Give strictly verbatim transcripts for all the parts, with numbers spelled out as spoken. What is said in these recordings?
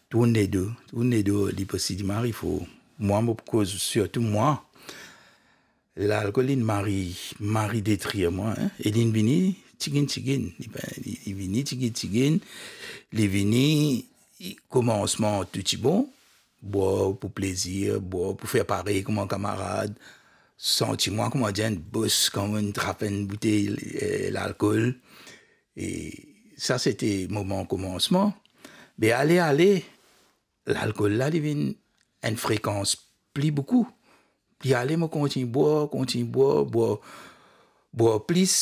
Tournedo, tournedo, li pou si li mari for. Mwa, mo pou koz sirtou mwa. Lalkol, li mari, mari detrir mwa, en. E li vini tiginn, tiginn. Li, li, li vini tiginn, tiginn. Li vini, komansman, tou ti bon. Bwar pou plezir, bwar pou fer parey kouma kamarad. Santi mwa kouma dir enn bos, kan mo'nn trap enn boutey, eh, lalkol. E sa, se te moman komansman. Me ale, ale, lalkol la, li vinn enn frekans pli boukou. Pli ale, mo kontign bwar, kontign bwar, bwar, bwar plis.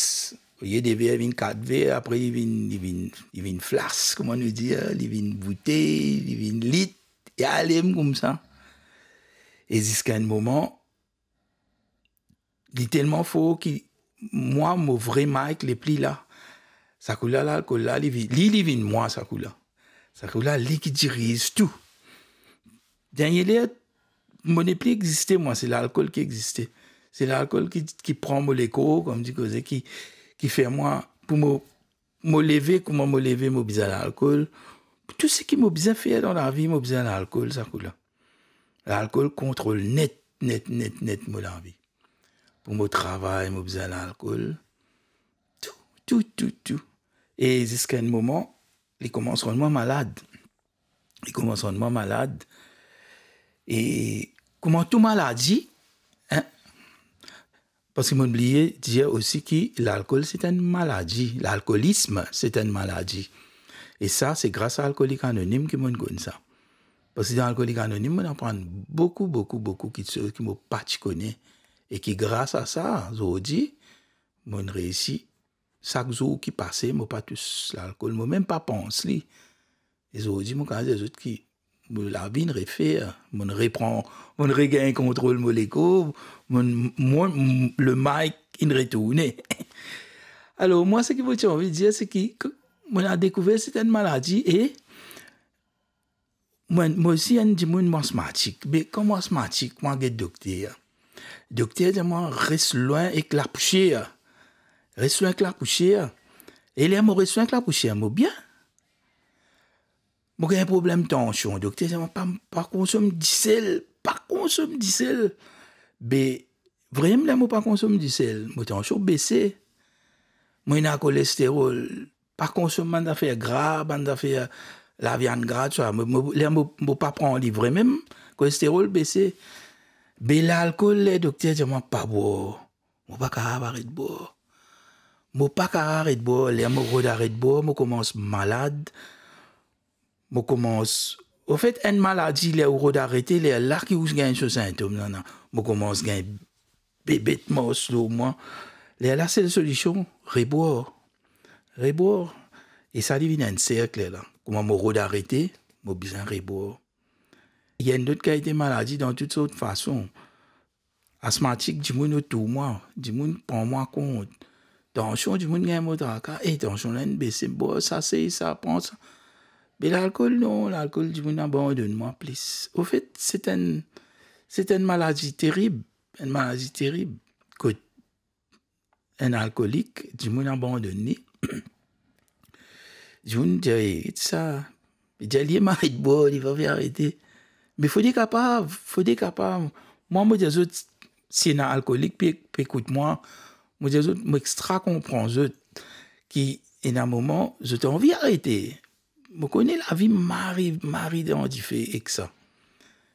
Olie de ver, vinn kat ver, apre li vinn, li vinn, li vinn flas, kouma nou dir, li vinn boutey, li vinn lit, e ale koumsa. E ziska enn moman, li telman for ki mwa, mo vre Mike, li pli la. Sa kou la, lalkol la, li vi-, li, li vinn mwa, sa kou la. Sa kou la, li ki diriz tou. Dernie ler, mo nepli existe, mwa, se lalkol ki existe. Se lalkol ki, ki pran mo lekor, kouma dir koze, ki, ki fer mwa, pou mo, mo leve, kouma mo leve, mo bizin lalkol. Tou seki mo bizin fer dan lavi, mo bizin lalkol, sa kou la. Lalkol kontrol net, net, net, net mo lavi. Pou mo travay, mo bizin lalkol. Tou, tou, tou, tou. E ziska enn moman, li koumans rann mwa malad. Li koumans rann mwa malad. E kouma tou maladi, en, parski mo'nn bliye dir osi ki lalkol, se enn maladi. Lalkolism, se enn maladi. E sa, se gras a Alkolik Anonim ki mo'nn konn sa. Parski dan Alkolik Anonim, mo'nn aprann boukou, boukou, boukou kiksoz ki mo pa ti kone. E ki gras a sa, zordi, mo'nn reisi, sak zour ki pase, mo pa tous lalkol, mo mem pa pans li. E zordi, mo kapav dir zot ki mo lavi inn refer, mo'nn repran, mo'nn regagn kontrol mo lekor, mo'nn, mo, m-, le Mike inn retourne. Alor, mwa, seki mo ti anvi dir, se ki, k-, mo'nn dekouver se enn maladi e mwa, mo osi enn dimoun, mo asmatik. Me kan mo asmatik, mo get dokter. Dokter dir mwa, res lwin ek lapousier. Res lwin ek lapousier. E ler mo res lwin ek lapousier, mo bien. Mo gagn problem tansion. Dokter dir mwa, pa, pa konsom disel, pa konsom disel. Be, vremem, ler mo pa konsom disel, mo tansion bese. Mo ena kolesterol, pa konsom bann zafer gra, bann zafer laviann gra, tousala. Mo, mo, ler mo, mo pa pran li vremem, kolesterol bese. Be lalkol, ler dokter dir mwa pa bwar, mo pa kapav aret bwar. Mo pa kapav aret bwar. Ler mo rod aret bwar, mo koumans malad. Mo koumans, anfet, enn maladi, ler ou rod arete, lerla ki ou gagn so sintom, nana. Mo koumans gagn bebet mars lor mwa. Lerla, sel solision, rebwar. Rebwar. E sa, li vinn enn serk lerla. Kouma mo rod arete, mo bizin rebwar. Li enn lot kalite maladi dan tou sort fason. Asmatik, dimoun otour mwa, dimoun pran mwa kont. Tansion, dimoun gagn mo traka, e tansion la inn bese, bwar sa, sey sa, pran sa. Me lalkol, non, lalkol, dimoun abandonn mwa plis. Anfet, se enn, se enn maladi terib, enn maladi terib. Kot enn alkolik, dimoun abandonn li. Dimoun dir, "E, sa." Li dir, "Li ema aret bwar, li pa pe arete." Me fode kapav, fode kapav. Mwa, mo dir zot, si ena alkolik pe, pe ekout mwa, mo dir zot, mo extra konpran zot, ki ena moman, zot anvi arete. Mo kone lavi mari, mari dan dife ek sa.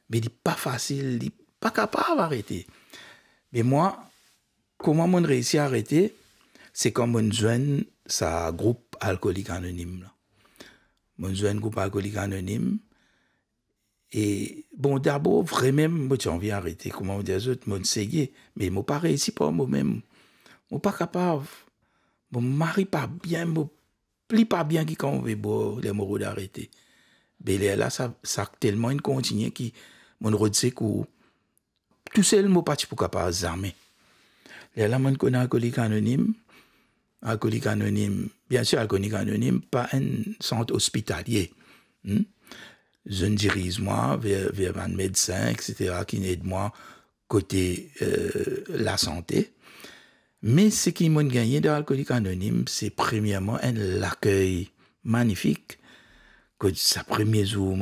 Me li pa fasil, li pa kapav arete. Me mwa, kouma mo'nn reisi arete, se kan mo'nn zwenn sa group Alkolik Anonim la. Mo'nn zwenn group Alkolik Anonim, e, bon, dabor, vremem, mo ti anvi arete, kouma mo dir zot, mo'nn seye, me mo pa reisi par momem. Mo pa kapav. Mo mari pa bien, mo pli pa bien ki kan mo pe bwar, ler mo rod arete. Be lerla, sa, sa telman inn kontigne ki mo'nn rod sekour. Tousel, mo pa ti pou kapav zame. Lerla, mo'nn konn Alkolik Anonim. Alkolik Anonim, biensir, Alkolik Anonim pa enn sant ospitalie. Hmm? Zot inn diriz mwa ver, ver bann medsin, et cetera, ki inn ed mwa kote, eh, lasante. Me seki mo'nn gagne dan Alkolik Anonim, se premierman enn lakey manifik. Kot sa premie zour